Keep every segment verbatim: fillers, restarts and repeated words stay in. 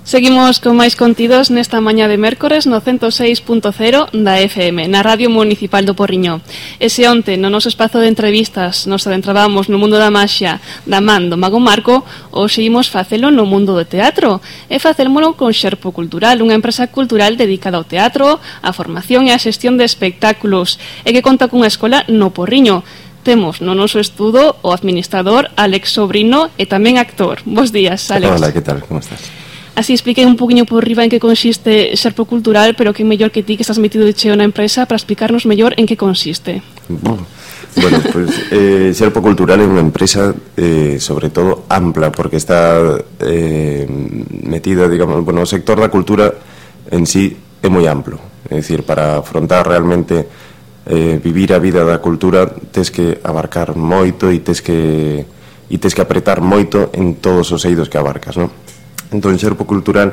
Seguimos con máis contidos nesta mañá de mércores no ciento seis punto cero da F M, na Radio Municipal do Porriño. E se onte, no noso espazo de entrevistas, nos adentrábamos no mundo da maxia da man do Mago Marco, hoxe imos facelo no mundo do teatro, e facélmolo con Xerpo Cultural, unha empresa cultural dedicada ao teatro, á formación e á xestión de espectáculos, e que conta cunha escola no Porriño. Temos no noso estudo o administrador Alex Sobrino e tamén actor. Bos días, Alex. Hola, que tal? Como estás? Así expliquei un poquinho por riba en que consiste Xerpo Cultural, pero que mellor que ti que estás metido de cheo na empresa para explicarnos mellor en que consiste. Bueno, pues eh, Xerpo Cultural é unha empresa eh, sobre todo ampla, porque está eh, metida, digamos, bueno, o sector da cultura en sí é moi amplo. É dicir, para afrontar realmente eh, vivir a vida da cultura tes que abarcar moito e tes que e tes que apretar moito en todos os eidos que abarcas, non? Entón, Xerpo Cultural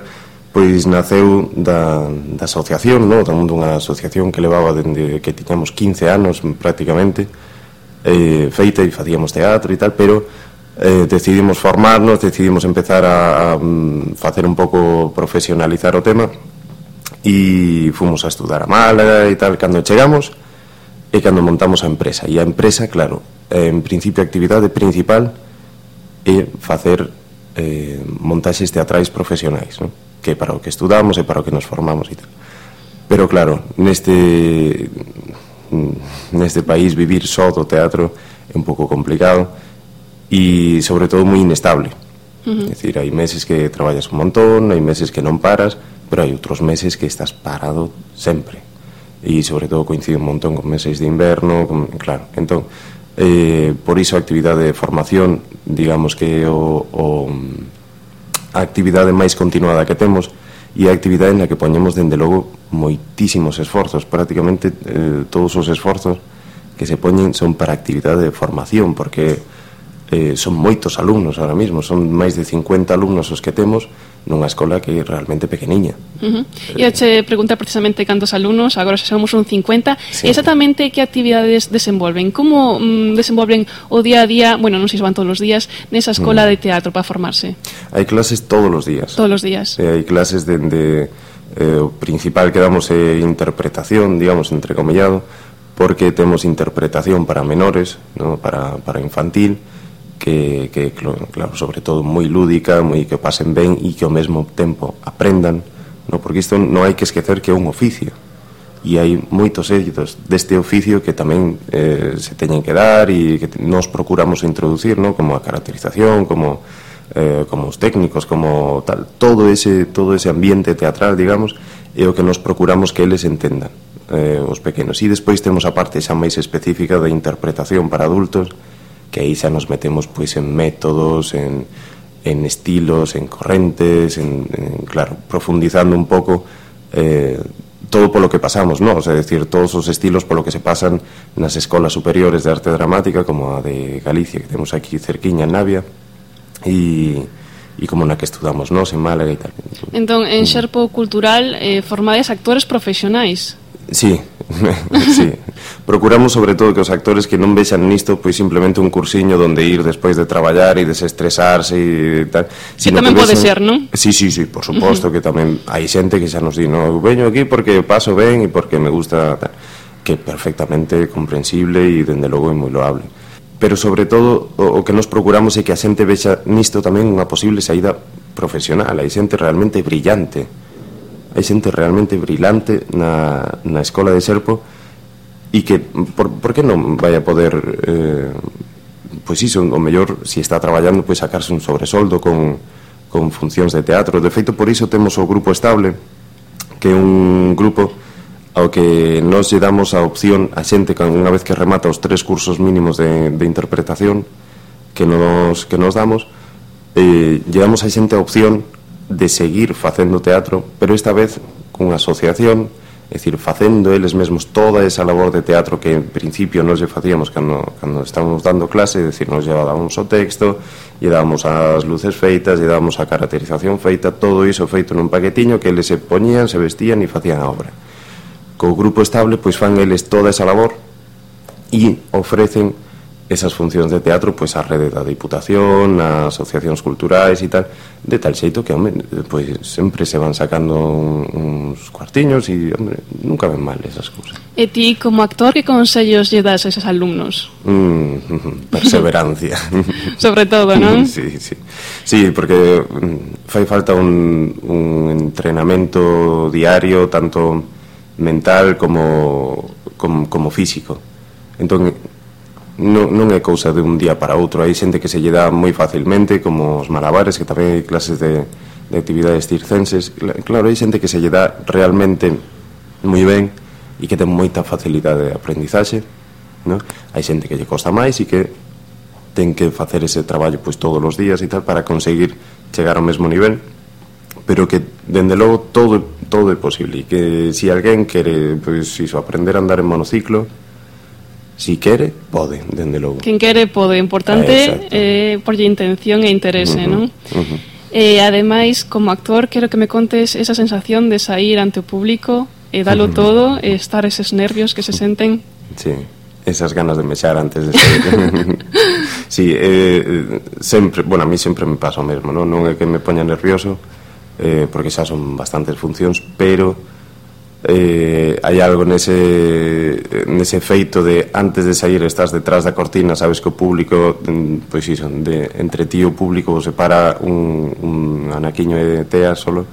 pois naceu da, da asociación, no? Dunha asociación que levaba dende que tiñamos quince anos prácticamente eh, feita e facíamos teatro e tal, pero eh, decidimos formarnos, decidimos empezar a, a facer un pouco profesionalizar o tema e fomos a estudar a Málaga e tal. Cando chegamos e cando montamos a empresa, e a empresa, claro, en principio a actividade principal é facer Eh, montaxes teatrais profesionais, ¿no? Que para o que estudamos e para o que nos formamos e tal. Pero claro, neste neste país vivir só do teatro é un pouco complicado e sobre todo moi inestable. Uh-huh. É dicir, hai meses que traballas un montón, hai meses que non paras, pero hai outros meses que estás parado sempre, e sobre todo coincide un montón con meses de inverno, con, claro, entón Eh, por iso a actividade de formación, digamos que o, o, a actividade máis continuada que temos, e a actividade na que poñemos dende logo moitísimos esforzos, prácticamente eh, todos os esforzos que se poñen son para actividade de formación, porque eh, son moitos alumnos ahora mismo, son máis de cincuenta alumnos os que temos nunha escola que é realmente pequeniña. Uh-huh. E a che preguntar precisamente cantos alumnos, agora xa somos un cincuenta, sí. Exactamente que actividades desenvolven? Como mm, desenvolven o día a día, bueno, non sei se van todos os días, nesa escola mm. de teatro para formarse? Hai clases todos os días. Todos os días. Eh, hai clases dende eh, o principal que damos é interpretación, digamos, entrecomillado, porque temos interpretación para menores, ¿no? para, para infantil, que, que claro, sobre todo moi lúdica, moi que pasen ben e que ao mesmo tempo aprendan, no? Porque isto non hai que esquecer que é un oficio e hai moitos éxitos deste oficio que tamén eh, se teñen que dar e que nos procuramos introducir, no? Como a caracterización, como eh, como os técnicos, como tal, todo ese todo ese ambiente teatral, digamos, é o que nos procuramos que eles entendan, eh, os pequenos. E despois temos a parte xa máis específica da interpretación para adultos, que aí xa nos metemos pois en métodos, en, en estilos, en correntes, en, en, claro, profundizando un pouco eh, todo polo que pasamos, ¿no? O sea, decir, todos os estilos polo que se pasan nas escolas superiores de arte dramática, como a de Galicia, que temos aquí cerquiña en Navia, e, e como na que estudamos nós en Málaga e tal. Entón, en Xerpo Cultural eh, formades actores profesionais? Sí, sí. Procuramos sobre todo que os actores que non vexan nisto pois simplemente un cursiño donde ir despois de traballar e desestresarse e tal. Que tamén pode ser, non? Sí, sí, sí, por suposto, uh-huh. Que tamén hai xente que xa nos di, no, veño aquí porque paso ben e porque me gusta tal, que é perfectamente comprensible e dende logo é moi loable. Pero sobre todo o, o que nos procuramos é que a xente vexa nisto tamén unha posible saída profesional. Hai xente realmente brillante. Hai xente realmente brillante na, na escola de Xerpo e que, por, por que non vai a poder eh, pois iso, o mellor, se si está traballando, pois sacarse un sobresoldo con, con funcións de teatro. De feito, por iso temos o Grupo Estable, que é un grupo ao que nos lle damos a opción a xente que unha vez que remata os tres cursos mínimos de, de interpretación que nos, que nos damos, eh, lle damos a xente a opción de seguir facendo teatro, pero esta vez cunha asociación, é dicir, facendo eles mesmos toda esa labor de teatro que en principio nos lle facíamos cando, cando estábamos dando clase, é dicir, nos llevábamos o texto, lle dábamos as luces feitas, lle dábamos a caracterización feita, todo iso feito nun paquetiño que eles se poñían, se vestían e facían a obra. Co Grupo Estable, pois fan eles toda esa labor e ofrecen esas funcións de teatro pois a rede da Diputación, as asociacións culturais e tal, de tal xeito que, home, pois sempre se van sacando uns cuartiños e, home, nunca ven mal esas cousas. E ti, como actor, que consellos lle das a esos alumnos? Mm, perseverancia. Sobre todo, non? Sí, sí. Sí, porque fai falta un, un entrenamento diario, tanto mental como, como, como físico. Entón, non, non é cousa de un día para outro. Hai xente que se lle dá moi facilmente, como os malabares, que tamén hai clases de, de actividades circenses. Claro, hai xente que se lle dá realmente moi ben e que ten moita facilidade de aprendizaxe, ¿no? Hai xente que lle costa máis e que ten que facer ese traballo pois todos os días e tal para conseguir chegar ao mesmo nivel, pero que, dende logo, todo, todo é posible, e que se si alguén quere, pois, iso, aprender a andar en monociclo, si quere, pode, dende logo. Quen quere pode, importante eh, porlle intención e interese, uh-huh, non? Uh-huh. E, ademais, como actor, quero que me contes esa sensación de sair ante o público e dalo uh-huh. todo, e estar eses nervios que se senten. Sí, esas ganas de mexar antes de sair. Sí, eh, sempre, bueno, a mí sempre me pasa o mesmo, non? Non é que me poña nervioso, eh, porque xa son bastantes funcións, pero Eh, hai algo nese nese feito de antes de sair estás detrás da cortina, sabes que o público, pois iso, de, entre ti e o público se para un, un anaquiño de tea solo,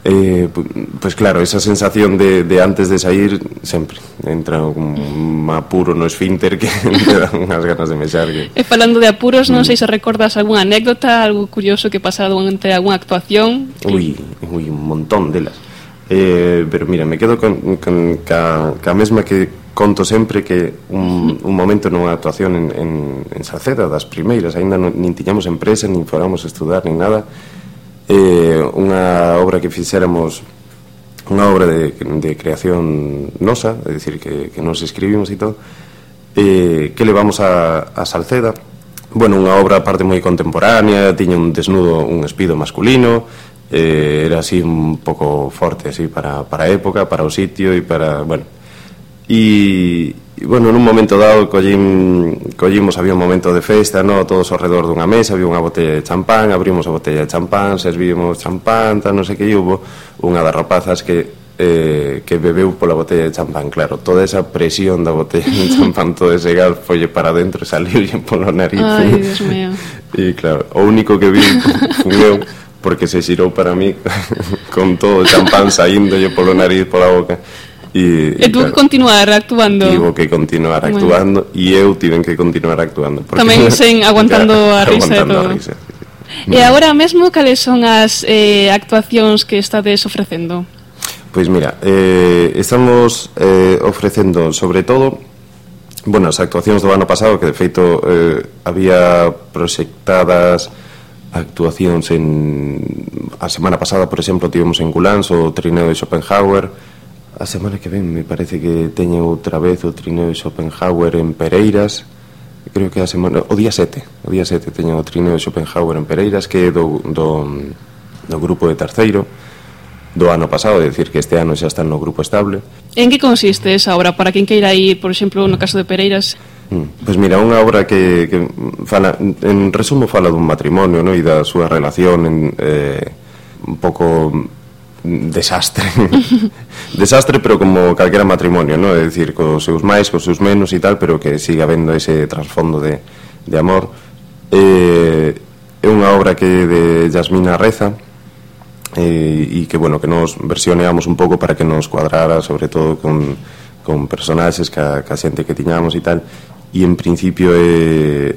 eh, pois claro, esa sensación de, de antes de sair sempre entra un apuro no esfínter que te dan unhas ganas de mexar que... E falando de apuros, non sei se recordas algunha anécdota, algo curioso que pasara durante algunha actuación. Ui, ui, un montón delas. Eh, pero mira, me quedo con, con ca, ca mesma que conto sempre, que un, un momento nunha actuación en, en, en Salceda, das primeiras, aínda non, nin tiñamos empresa, nin fóramos a estudar, nin nada, eh, unha obra que fixéramos, unha obra de, de creación nosa, é dicir, que, que nos escribimos e todo, eh, que levamos a, a Salceda. Bueno, unha obra aparte moi contemporánea, tiña un desnudo, un espido masculino, eh, era así un pouco forte así para, para a época, para o sitio e para, bueno, e, e bueno, nun momento dado collín, collimos, había un momento de festa, no, todos ao redor dunha mesa, había unha botella de champán, abrimos a botella de champán, servíamos champán, tal, non sei que, e hubo unha das rapazas que eh, que bebeu pola botella de champán, claro, toda esa presión da botella de champán, todo ese gas folle para dentro e saliu polo nariz. Ai, Dios mío. E claro, o único que vi fun eu, porque se xirou para mí con todo o champán saíndolle polo nariz, pola boca. E, e tú claro, que continuar actuando. Tivo que continuar actuando, e bueno, eu tiven que continuar actuando. Tamén sen aguantando a risa e todo. A risa, sí, sí. E agora mesmo, cales son as eh, actuacións que estades ofrecendo? Pois mira, eh, estamos eh, ofrecendo sobre todo, bueno, as actuacións do ano pasado, que de feito eh, había proxectadas actuacións en... A semana pasada, por exemplo, tivemos en Culans o trineo de Schopenhauer. A semana que ven me parece que teñe outra vez o trineo de Schopenhauer en Pereiras. Creo que a semana... O día sete, o día sete teñe o trineo de Schopenhauer en Pereiras, que é do, do, do grupo de terceiro do ano pasado, é dicir que este ano xa están no grupo estable. En que consiste esa obra, para quen queira ir, por exemplo, no caso de Pereiras? Mm, pois mira, unha obra que, que fala, en resumo fala dun matrimonio, no? E da súa relación en, eh, un pouco desastre desastre, pero como calquera matrimonio, no? É dicir, cos seus máis, cos seus menos e tal, pero que siga habendo ese trasfondo de, de amor. Eh, é unha obra que de Yasmina Reza, e, e que, bueno, que nos versioneamos un pouco para que nos cuadrara, sobre todo con, con personaxes ca, ca xente que tiñamos e tal, e en principio é,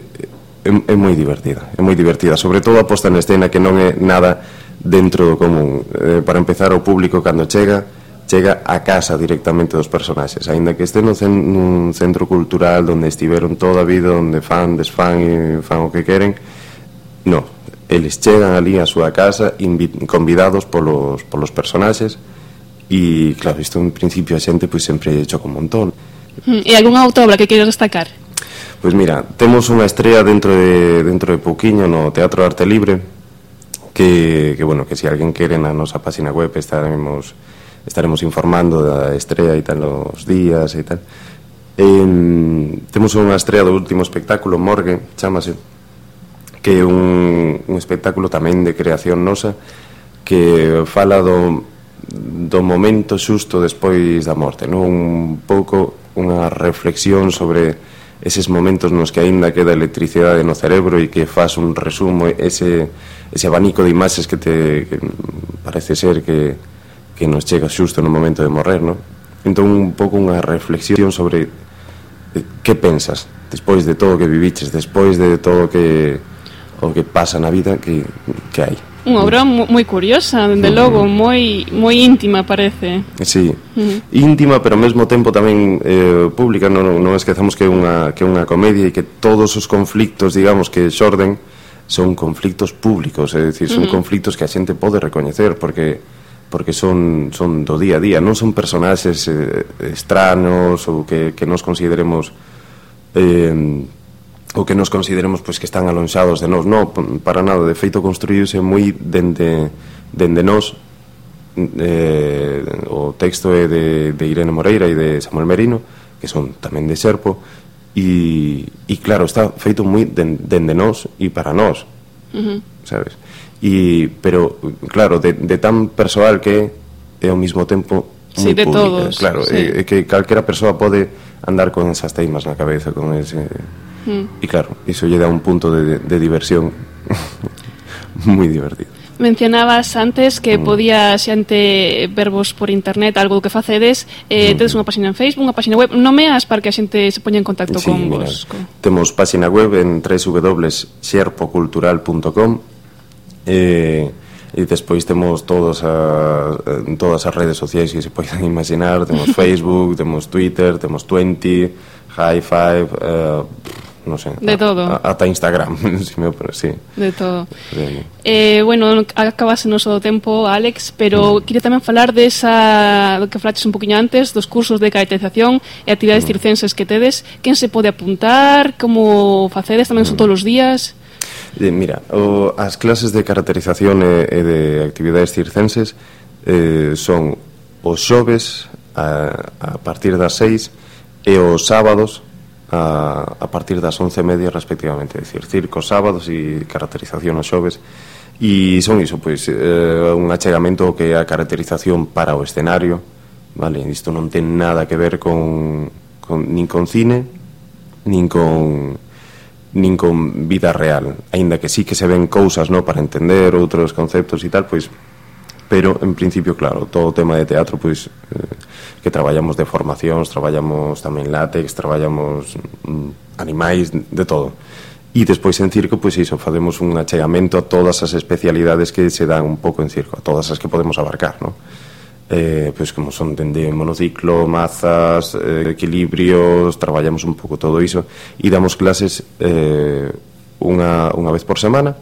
é, é moi divertida, é moi divertida, sobre todo a posta en escena, que non é nada dentro do común. Eh, para empezar, o público cando chega, chega a casa directamente dos personaxes, aínda que este nun, cen, nun centro cultural onde estiveron toda a vida, onde fan, desfan e fan o que queren, non, eles chegan ali á súa casa convidados polos, polos personaxes, e claro, isto en principio a xente pois sempre choca un montón. E algunha outra obra que queres destacar? Pois mira, temos unha estrela dentro de, dentro de pouquiño no Teatro Arte Libre, que, que bueno, que se alguén quere na nosa página web estaremos, estaremos informando da estrela e tal, os días e tal. Eh, temos unha estrela do último espectáculo, Morgue, chámase, que é un, un espectáculo tamén de creación nosa, que fala do, do momento xusto despois da morte, non? Un pouco unha reflexión sobre eses momentos nos que aínda queda electricidade no cerebro e que faz un resumo, ese, ese abanico de imaxes que te que parece ser que, que nos chega xusto no momento de morrer, non? Entón un pouco unha reflexión sobre que pensas despois de todo o que viviches, despois de todo o que o que pasa na vida, que, que hai. Unha obra moi curiosa, dende logo, moi moi íntima parece. Sí, uh-huh. íntima, pero ao mesmo tempo tamén eh, pública, non, non esquezamos que é unha, que é unha comedia e que todos os conflictos, digamos, que xorden son conflictos públicos, é dicir, son uh-huh. conflictos que a xente pode recoñecer, porque porque son, son do día a día, non son personaxes eh, estranos ou que, que nos consideremos eh, ou que nos consideremos pois, que están alonxados de nós, non, para nada, de feito construíuse moi dende, dende nós. Eh, o texto é de, de Irene Moreira e de Samuel Merino, que son tamén de Xerpo, e, e claro, está feito moi dende nós e para nós, uh-huh. sabes? Y, pero, claro, de, de tan persoal que é ao mesmo tempo sí, de pública, todos, claro, sí. é, é que calquera persoa pode andar con esas teimas na cabeza, con ese mm. e claro, iso lle dá un punto de, de diversión moi divertido. Mencionabas antes que mm. podía xente vervos por internet, algo que facedes, eh, mm. tedes unha página en Facebook, unha página web, nomeas para que a xente se poña en contacto sí, con mira, vos. Con... Temos página web en doble u doble u doble u punto xerpocultural punto com. Eh, e despois temos todas as, todas as redes sociais que se poden imaginar, temos Facebook, temos Twitter, temos Twenty, High Five, eh, non sei, de todo, ata Instagram, si me, sí. De todo. Eh, bueno, acabase o noso tempo, Álex, pero mm. queria tamén falar desa, do que falaches un poquinho antes, dos cursos de caracterización e actividades mm. circenses que tedes. Quen se pode apuntar? Como facedes? Tamén son mm. todos os días? Eh, mira, o, as clases de caracterización e, e de actividades circenses eh, son os xoves a, a partir das seis e os sábados a, a partir das once e media respectivamente, é dicir, circo sábados e caracterización os xoves, e son iso, pois, eh, un achegamento que é a caracterización para o escenario, vale, isto non ten nada que ver con, con nin con cine nin con nin con vida real, aínda que sí que se ven cousas, no, para entender outros conceptos e tal, pois, pero en principio, claro, todo o tema de teatro, pois, eh, que traballamos de formacións, traballamos tamén látex, traballamos mm, animais, de todo. E despois en circo, pois iso, facemos un achegamento a todas as especialidades que se dan un pouco en circo, a todas as que podemos abarcar, no? Eh, pois como son dende monociclo, mazas, eh, equilibrios, traballamos un pouco todo iso e damos clases eh, unha, unha vez por semana,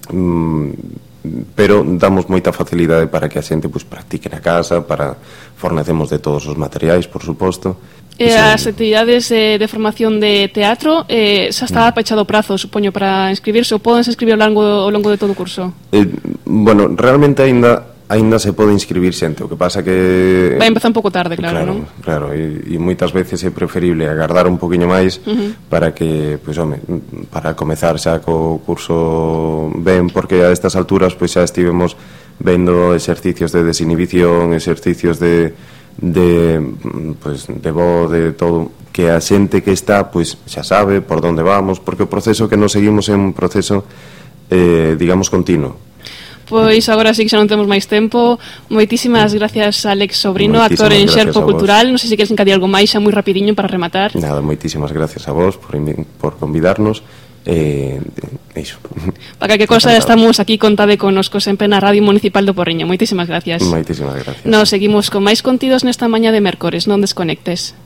mm, pero damos moita facilidade para que a xente pois, practique na casa, para fornecemos de todos os materiais, por suposto. E as actividades eh, de formación de teatro eh, xa está pechado o prazo, supoño, para inscribirse, ou podense inscribir ao longo, ao longo de todo o curso? Eh, bueno, realmente aínda Ainda se pode inscribir xente, o que pasa que... Vai empezar un pouco tarde, claro, claro non? Claro, e, e moitas veces é preferible agardar un poquinho máis uh-huh. para que, pois, home, para comezar xa co curso ben, porque a estas alturas, pois, xa estivemos vendo exercicios de desinhibición, exercicios de, de, pois, de voz, de todo, que a xente que está, pois, xa sabe por onde vamos, porque o proceso que nos seguimos é un proceso, eh, digamos, continuo. Pois agora sí que xa non temos máis tempo. Moitísimas gracias, Álex Sobrino, actor en Xerpo Cultural. Non sei se queres encadir algo máis, xa moi rapidiño para rematar. Nada, moitísimas gracias a vos por, por convidarnos. Eh, iso. Para que cosa estamos aquí, contade conosco sempre na Radio Municipal do Porriño. Moitísimas gracias. Moitísimas gracias. Nos seguimos con máis contidos nesta mañá de mércores. Non desconectes.